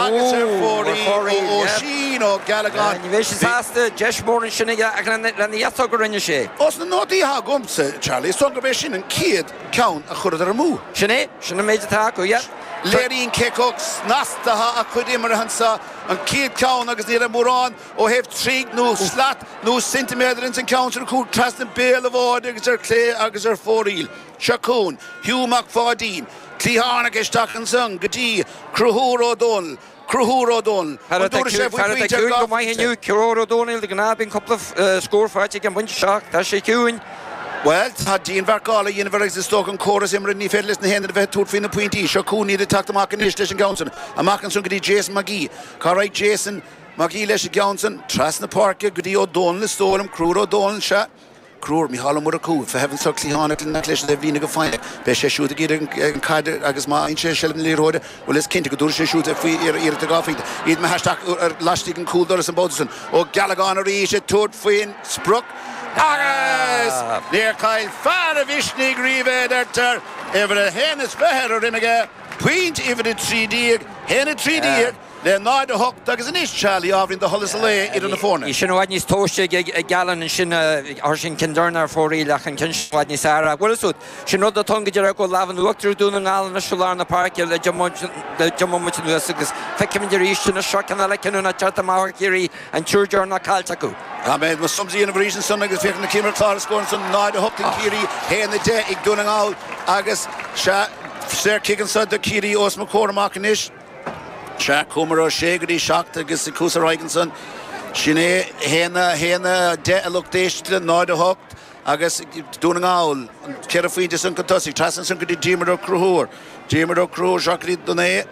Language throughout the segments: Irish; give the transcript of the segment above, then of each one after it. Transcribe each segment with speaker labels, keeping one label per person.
Speaker 1: Agus ar fóraoil ó Oisín Ó Gealagáin.
Speaker 2: Ní bheidh sé sásta, deis mhór ansin aige ach lena dheasóg a rinne sé.
Speaker 1: Ós na nótaí atá agamsa, Charlie, is dóigh gurb é sin an chéad ceann a chuireadar amú.
Speaker 2: Sin é, sin an méid atá acu, yeah.
Speaker 1: Léiríonn cé chomh snasta atá a cuid imeartha anseo, an chéad ceann agus ní raibh mórán ó thaobh troigh nó slat nó ceintiméadar ins an ceann sin a chuaigh trasna béal an bháide agus ar clé agus ar fóraoil. Seo chugainn Hugh Mac Pháidín, cliathánach isteach ansan go dtí Conchúr Ó Dónaill, Conchúr Ó Dónaill,
Speaker 2: an dtabharfaidh sé faoi phointe ar gach pointe? Inniu, Conchúr Ó Dónaill, de ghnáth bíonn cúpla scór faighte ag an bpointe seo ach tá sé ciúin.
Speaker 1: Bhuel, tá dianmharcáil á dhéanamh air agus is dócha an córas imeartha ní féidir leis na haon duine a bheith ag tabhairt faoi na pointí. Seo chugainn iad ag teacht amach anois leis an gceann san. Amach ansan go dtí Jason McGee. Cá raghaidh Jason McGee leis an gceann san? Trasna páirce go dtí Ó Dónaill is dóigh liom. Conchúr Ó Dónaill, sea. Conchúr, Micheál Ó Murchú, ag feitheamh anso cliathánach lena leis an taobhlíne go foighneach. Beidh sé siúd ag iarraidh an chaid agus má fhaigheann sé seilbh na liathróide, bhuel is cinnte go dtabharfaidh sé siúd faoi iarracht ar dhá phointe. Iad imithe isteach laistigh den chúldoras an babhta san. Ó Gealagáin arís ag tabhairt faoin sprioc agus níor chaill fear a mhisnigh riamh é, a deirtear. Uimhir a haon is fiche ar a dhroim aige, pointe uimhir 13, 1 13. Le 0, 8 agus anois, Charlie, ábhairín de sholas an lae idir na foirne.
Speaker 2: Bhí sin i bhfad níos tomhaiste ag Gallen ansin, chuir sé an ceann deireanach ar fóraoil ach an ceann sin i bhfad níos fearr. Ach bhfuil fhios agat, sin rud atá ann go díreach go bhfuil lámh in uachtar ag Dún na nGall anois i lár na páirce le deich mbomaite anuas agus feicimid arís anois seo ceann eile cinniúnach teacht amach ó Chiarraí, an triúr deireanach caillte acu.
Speaker 1: Tá mé mo sums a dhéanamh arís ansan agus féach na céimeanna clár a scór ansan, 0, 8 ag Ciarraí, 1, 10 ag Dún na nGall agus sea, saor cic anso do Chiarraí os mo chomhair amach anois. Sea, chuamar ó sé go dtí 7 agus ag cuas ar aghaidh ansan. Sin é, 1, 1, 10 a lucht éisteachta, 0, 8 agus Dún na nGall, an ceithre phointe san chun tosaigh. Trasna ansan go dtí Diarmuid Ó Conchúir. Diarmuid Ó Conchúir, seo go dtí don é.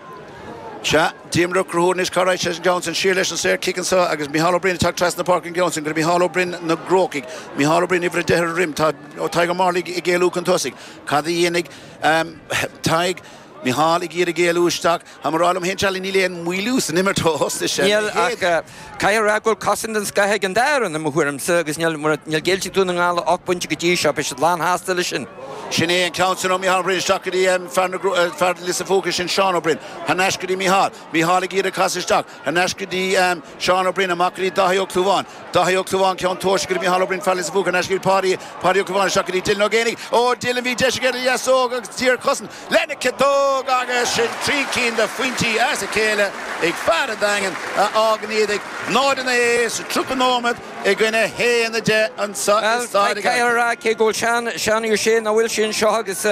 Speaker 1: Sea, Diarmuid Ó Conchúir anois, cá raghaidh sé leis an gceann san? Siar leis an saor cic anso agus Micheál Ó Broin ag teacht trasna na páirce an gceann san. Go dtí Micheál Ó Broin na gCrócaigh. Micheál Ó Broin, uimhir 10 ar a dhroim. Tá Tadhg Ó Mearlaigh ag éalú chun tosaigh. Cad a dhéanfaidh Tadhg? Micheál ag iarraidh éalú isteach. Tá mé ag rá liom féin, Charlie, níl aon mhoilliú san imirt ó thosaigh sé.
Speaker 2: Níl, ach caithfidh a rá go bhfuil cosaint den scoth ag an dá fhoireann, i mo thuairimse, agus níl, níl géillte ag Dún na nGall ach 8 bpointe go dtí seo, beidh siad lán-shásta leis sin.
Speaker 1: Sin é an ceann san ó Micheál Ó Broin isteach go dtí fear na, fear Lios an Phúca, sin Seán Ó Broin. Thar n-ais go dtí Micheál. Micheál ag iarraidh casadh isteach. Thar n-ais go dtí Seán Ó Broin, amach go dtí Dáithí Ó Clúmháin. Dáithí Ó Clúmháin, ceann tomhaiste go dtí Micheál Ó Broin, fear Lios an Phúca, thar n-ais go dtí Páidí, Páidí Ó Clúmháin isteach go dtí Dylan Ó Géibheannaigh. Ó Dylan, bhí deis aige ar a dheasóg agus dianchosaint. Lena chiotóg agus sin trí cinn de phointí as a chéile ag fear an Daingin a fhágann iad ag 0-9 sa 30 nóiméad i gcoinne 1-10 anseo i Staid
Speaker 2: an Caithfidh a rá cé go bhfuil Seán Ó Sé nach bhfuil sé anseo agus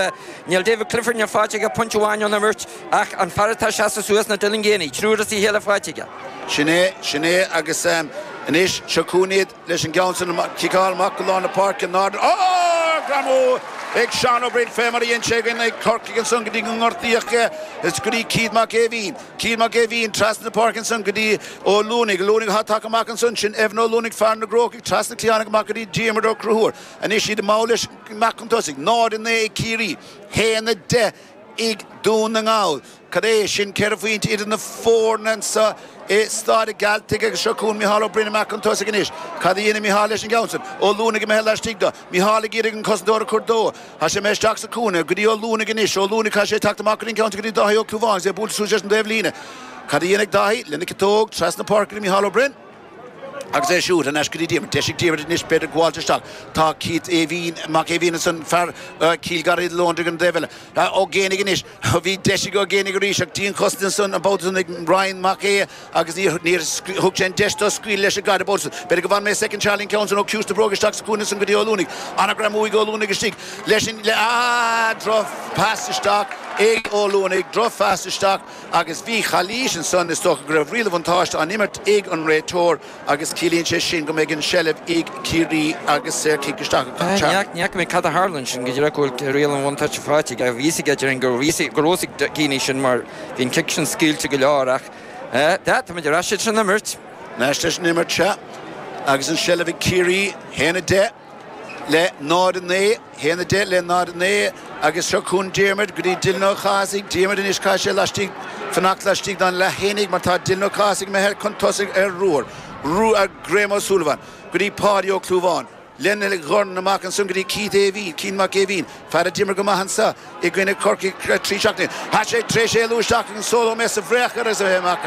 Speaker 2: níl David Clifford níl faighte aige pointe amháin ón imirt ach an fear atá seasta suas ná Dylan Geaney, triúr as a chéile faighte aige.
Speaker 1: Sin é, sin é agus anois seo chugainn iad. Leis an gceann sin ciceáil amach go lár na páirce 0 Ó! Greamú ag Seán Ó Broin fé mar a dhein sé i gcoinne Corcaigh ansan go dtí go ngortaíodh é is go dtí Keith Mac Aoibhín. Keith Mac Aoibhín trasna na páirce ansan go dtí Ó Luanaigh. Ó Luanaigh atá tagtha amach ansan. Sin Evan Ó Luanaigh fear na gCrócaigh trasna cliatháin amach go dtí Diarmuid Ó Conchúir. Anois iad mall leis amach chun tosaigh. 0-9 ag Ciarraí. 1-10 ag Dún na nGall. Cad é sin, ceithre phointe idir na foirne anseo i Staid an Ghealtaigh agus seo chugainn Micheál Ó Broin amach chun tosaigh anois. Cad a dhéanfaidh Micheál leis an gceann san? Ó Luanaigh imithe laistigh dó. Micheál ag iarraidh an cosantóir a chur dó. Tá sé imithe isteach sa chúinne go dtí Ó Luanaigh anois. Ó Luanaigh, caithfidh sé teacht amach go dtí an ceann san go dtí Dáithí Ó Clúmháin agus é buailte suas leis an dtaobh líne. Cad a dhéanfaidh Dáithí? Lena chiotóg, trasna páirce go dtí Micheál Ó Broin. Agus é siúd thar n-ais go dtí Diarmuid. Deisigh Diarmuid anois, b'fhéidir gabháilt isteach. Tá Keith Aoibhín, Mac Aoibhín ansan, fear Chill Gharraí Lóndra ag an dtaobh eile. Ó Géibheannaigh anois. Bhí deis ag Ó Géibheannaigh arís ach dianchosaint ansan an babhta san ag Ryan Mac Aodha agus níor thug sé an deis dó scaoileadh leis an gcaid an babhta san. B'fhéidir go bhfanfaidh mé soicind Charlie an ceann san ó Ciumhais na Bróige isteach sa chúinne ansan go dtí Ó Luanaigh. An-ghreamú ag Ó Luanaigh istigh leis an, le, ah, droch-phas isteach ag Ó Luanaigh, droch-phas isteach. Agus bhí calaois ansan, is dócha go raibh riail an bhuntáiste á n-imirt ag an réiteoir agus ciallaíonn sé sin go mbeidh an seilbh ag Ciarraí agus saorchic isteach
Speaker 2: ag Charlie. Ní fhaca mé cad a tharla ansin go díreach go bhfuil riail an bhuntáiste faighte aige. Bhí fhios aige déarfainn go raibh fhios ag Geaney sin mar bhí an cic sin scaoilte go leor ach táimid ar ais leis an imirt.
Speaker 1: Ar ais leis an imirt, sea. Agus an seilbh ag Ciarraí, 1-10. le 0-9, 1-10 le 0-9 agus seo chugainn Diarmuid go dtí Dylan Ó Cathasaigh. Diarmuid anois caithfidh sé laistigh, fanacht laistigh den leathsféar mar tá Dylan Ó Cathasaigh imithe chun tosaigh ar Ruar, ar Graham Ó Súilleabháin, go dtí Páidí Ó Clúmháin. Lena dhorn amach ansan go dtí Keith Aoibhín, Keith Mac Aoibhín, fear a d'imir go maith anso i gcoinne Chorcaí 3 seachtaine. Tá sé tar éis éalú isteach ag an solo mé sa bhfraoch ar agus a bheith amach.